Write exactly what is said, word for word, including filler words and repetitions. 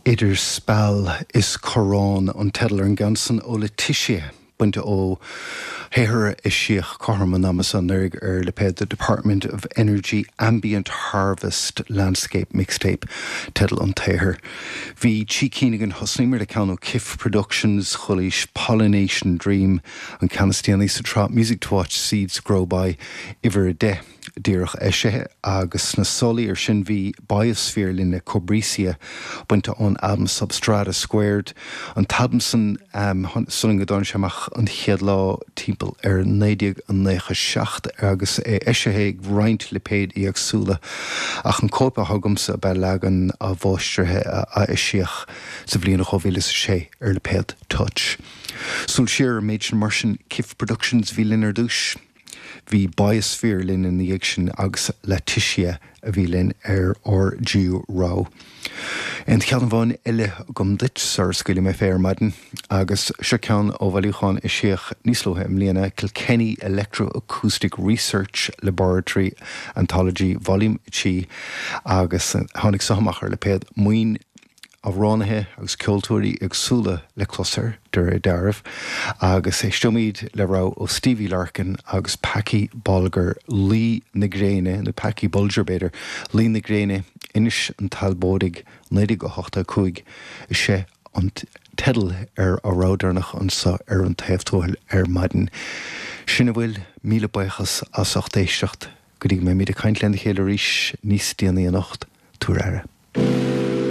Idir Speal is Corrán an teideal ar an gceann san ó Laetitia bainte ó shaothar a eisíodh cothrom an ama seo anuraidh ar lipéad the Department of Energy Ambient Harvest Landscape Mixtape teideal an tsaothair. Bhí trí cinn againn thosnaíomar le ceann ó Kif Productions chualaís Pollination Dream an ceann is déanaí sa tsraith Music to Watch Seeds Grow By uimhir a deich díreach eisithe agus sna sála air sin bhí Biosphere linn le Cobrisia bainte ón albam Substrata Squared. An t-albam san um, san go dtáinig sé amach an chéad lá timpeall ar naoi déag nócha seacht agus é eisithe ag roinnt lipéid éagsúla ach an cóip atá agamsa ab ea leagan athmháistrithe a a eisíodh sa bhliain dhá mhíle is a sé ar lipéad Touch. Súil siar ar an méid sin mar sin Kif Productions bhí linn ar dtús. Bhí Biosphere linn ina dhiaidh sin agus Laetitia a bhí linn ar ár dtríú rogha. Aon cheann amháin eile agam duit sara scaoilfidh mé fé ar maidin agus seo ceann ó bhailiúchán a eisíodh níos luaithe i mbliana Kilkenny Electroacoustic Research Laboratory Anthology Volume trí agus tháinig seo amach ar lipéad Maoin amhránaithe agus ceoltóirí éagsúla le clos air de réir dealraimh agus éisteoimid le rogha ó Stevie Larkin agus Packie Bolger Luí na Gréine nó Packie Bulger b'fhéidir Luí na Gréine Inis an Talbóidigh naoi déag a hocht a cúig is é an teideal ar a rogha deireanach anseo ar an taobh tuathail ar maidin. Sin a bhfuil míle buíochas as ucht éisteacht go dtí go mbeimid ag caint lena chéile arís níos déanaí anocht tabhair aire.